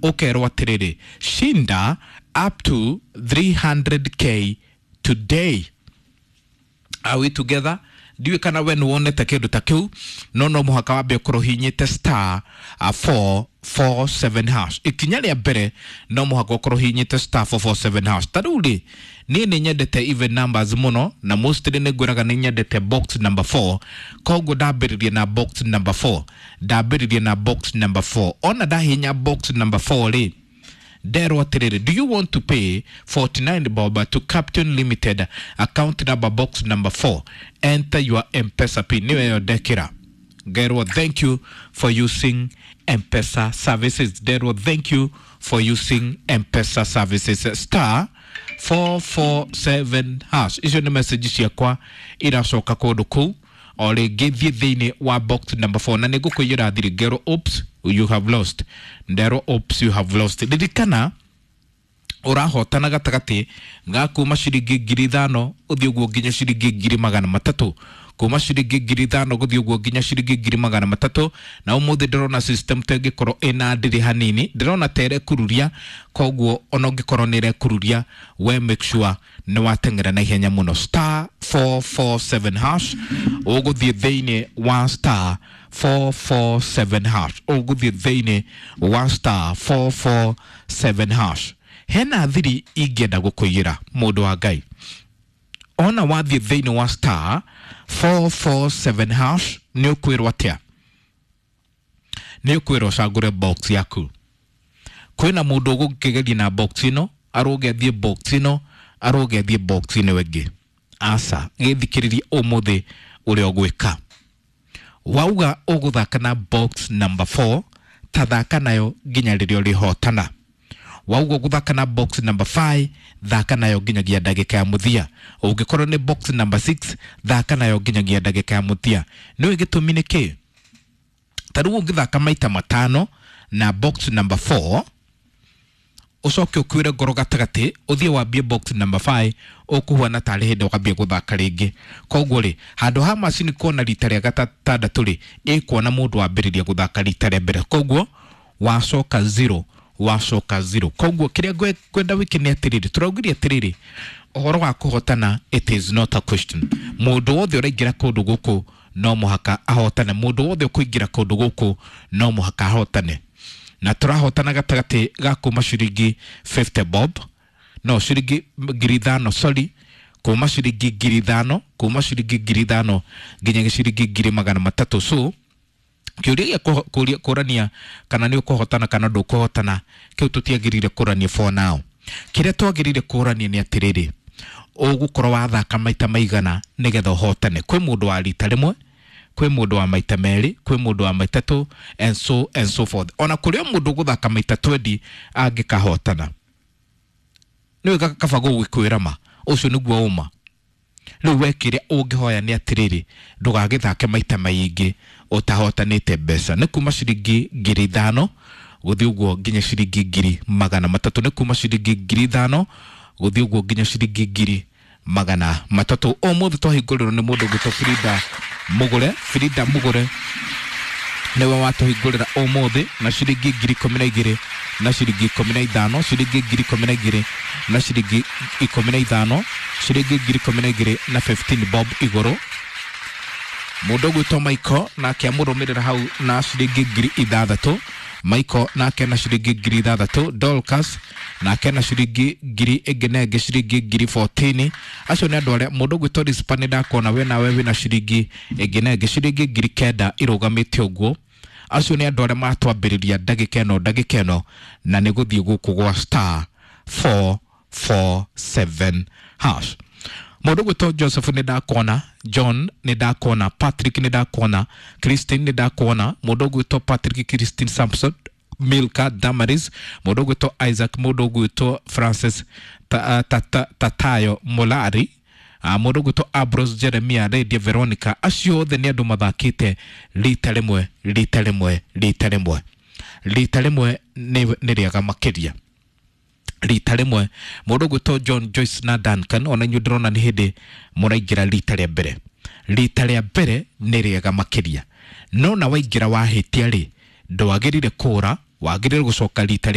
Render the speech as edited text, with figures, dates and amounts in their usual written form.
Ũkerwo atĩrĩrĩ, shinda up to 300K today. Are we together? Ndiũĩ kana we nĩwonete kĩndũ ta kĩu, no no mũhaka wambe ũkorwo hihinyĩte star 447 hash. Ikinya rĩa mbere no mũhaka ũkorwo hihinyĩte star 447 hash. Ta rĩu rĩ, niĩ nĩ nyendete even numbers mũno, na mostly nĩ ngwĩraga nĩ nyendete box number 4. Koguo ndambĩrĩria na box number 4, ndambĩrĩria na box number 4. Ona ndahihinya box number 4 rĩ, nderwo atĩrĩrĩ, do you want to pay 49 bob to Captain Limited, account number box number 4, enter your M-Pesa PIN? Nĩyo ĩyo ndekĩra, ngerwo thank you for using M-Pesa services. Nderwo thank you for using M-Pesa services, star 447 hash. Icio nĩ message ciakwa iracoka kũndũ kũu. O rĩngĩ thiĩ thĩinĩ wa box number 4 na nĩ ngũkũiyĩra thiri. Ngerwo oops, you have lost. Nderwo oops, you have lost. Ririkana ũrahotana gatagatĩ ga kuma ciringi 5,000 ũthiĩ ũguo nginya ciringi 300,000, kuma ciringi 5,000 gũthiĩ ũguo nginya ciringi 300,000. Na ũmũthĩ ndĩrona system ta ĩngĩkorwo ĩna ndĩrĩ hanini, ndĩrona ta ĩrekururia. Koguo ona ũngĩkorwo nĩ ĩrekururia, we make sure nĩ wateng'era na ihenya mũno. Star 447 hash, ũgũthiĩ thĩinĩ wa star 447 hash, ũgũthiĩ thĩinĩ wa star 447 hash. Hena thiri ingĩenda gũkũiyĩra, mũndũ wa Ngai. Ona wathiĩ thĩinĩ wa star 447 hash, nĩ ũkwĩrwo atĩa? Nĩ ũkwĩrwo ũcagũre box yaku. Kwĩna mũndũ ũgũkĩgeria na box ĩno, arũge athiĩ box ĩno, arũge athiĩ box ĩno ĩngĩ. Aca, gĩthikĩrĩrie ũmũthĩ ũrĩa ũgwĩka. Wauga ũgũthaka na box number 4, tathaka nayo nginya rĩrĩa ũrĩhotana. Wauga ũgũthaka na box number 5, thaka nayo nginyagia ndagĩka ya mũthia. Ũngĩkorwo nĩ box number 6, thaka nayo nginyagia ndagĩka ya mũthia. Nĩũĩ gĩtũmi nĩ kĩ? Ta rĩu ũngĩthaka maita matano na box number 4, ũcoke ũkuĩre ngoro gatagatĩ, ũthiĩ wambie box number 5, ũkũhuana tarĩ hĩndĩ wambie gũthaka rĩngĩ. Koguo rĩ, handũ ha macini kuona rita rĩa gatandatũ rĩ, ĩkuona mũndũ wambĩrĩria gũthaka rita rĩa mbere. Koguo wacoka zero, wacoka zero. Koguo kĩrĩa ngwenda wĩke nĩ atĩrĩrĩ, tũraugire atĩrĩrĩ, ũhoro wa kũhotana, it is not a question. Mũndũ wothe ũraingĩra kũndũ gũkũ no mũhaka ahotane. Mũndũ wothe ũkũingĩra kũndũ gũkũ no mũhaka ahotane. Na tũrahotana gatagatĩ ga kuma ciringi 50 bob, no ciringi 5,000, sorry, kuma ciringi 5,000, kuma ciringi 5,000 nginya ciringi 300,000. So kĩũria gĩa kũrania kana nĩ ũkũhotana kana ndũkũhotana, kĩu tũtiagĩrĩire kũrania for now. Kĩrĩa twagĩrĩire kũrania nĩ atĩrĩrĩ, ũgũkorwo wathaka maita maigana nĩgetha ũhotane. Kwĩ mũndũ wa rita rĩmwe, kwĩ mũndũ wa maita merĩ, kwĩ mũndũ wa maita 2, and so and so forth. Ona kũrĩ o mũndũ ũgũthaka maita 20 angĩkahotana. Nĩwe kaba gũgĩkwĩra ma ũcio nĩguo ũma. Rĩu we kĩrĩa ũngĩhoya nĩ atĩrĩrĩ, ndũgagĩthake maita maingĩ ũtahotanĩte mbeca. Nĩ kuma ciringi 5,000 gũthiĩ ũguo nginya ciringi 300,000. Nĩ kuma ciringi 5,000 gũthiĩ ũguo nginya ciringi 300,000. Ũmũthĩ twahingũrĩrwo nĩ mũndũ ũgwĩtwo Frida Mũgũre. Frida Mũgũre nĩwe watũhingũrĩra ũmũthĩ na ciringi 12,000 na ciringi 15, ciringi 12,000 na ciringi 15, ciringi 12,000 na 15 bob igũrũ. Mũndũ ũgwĩtwo Michael nake amũrũmĩrĩra hau na ciringi 6,000. Michael nake na ciringi 6,000. Dorcas nake na ciringi ngiri ĩngĩ na ĩngĩ, ciringi 14,000. Acio nĩ andũ arĩa. Mũndũ ũgwĩtwo Rispa, nĩ ndakuona we nawe wĩna ciringi ĩngĩ na ĩngĩ, ciringi 9,000 irũgamĩte ũguo. Acio nĩ andũ arĩa matwambĩrĩria ndagĩka ĩno, ndagĩka ĩno, na nĩ gũthiĩ gũkũ gwa star 447 hash. Mũndũ ũgwĩtwo Joseph nĩ ndakuona, John nĩ ndakuona, Patrick nĩ ndakuona, Christine nĩ ndakuona, mũndũ ũgwĩtwo Patrick, Christine, Samson, Milka, Damaris, mũndũ ũgwĩtwo Isaac, mũndũ ũgwĩtwo Francis, Tatayo Molari, mũndũ ũgwĩtwo Ambrose, Jeremia, Lydia, Veronica. Acio othe nĩ andũ mathakĩte rita rĩmwe, rita rĩmwe, rita rĩmwe. Rita rĩmwe nĩ rĩega makĩria rita rĩmwe. Mũndũ ũgwĩtwo John, Joyce na Duncan, ona inyuĩ ndĩrona nĩ hĩndĩ mũraingĩra rita rĩa mbere. Rita rĩa mbere nĩ rĩega makĩria, no na waingĩra wahĩtia rĩ, ndwagĩrĩire kũra, wagĩrĩire gũcoka rita rĩngĩ.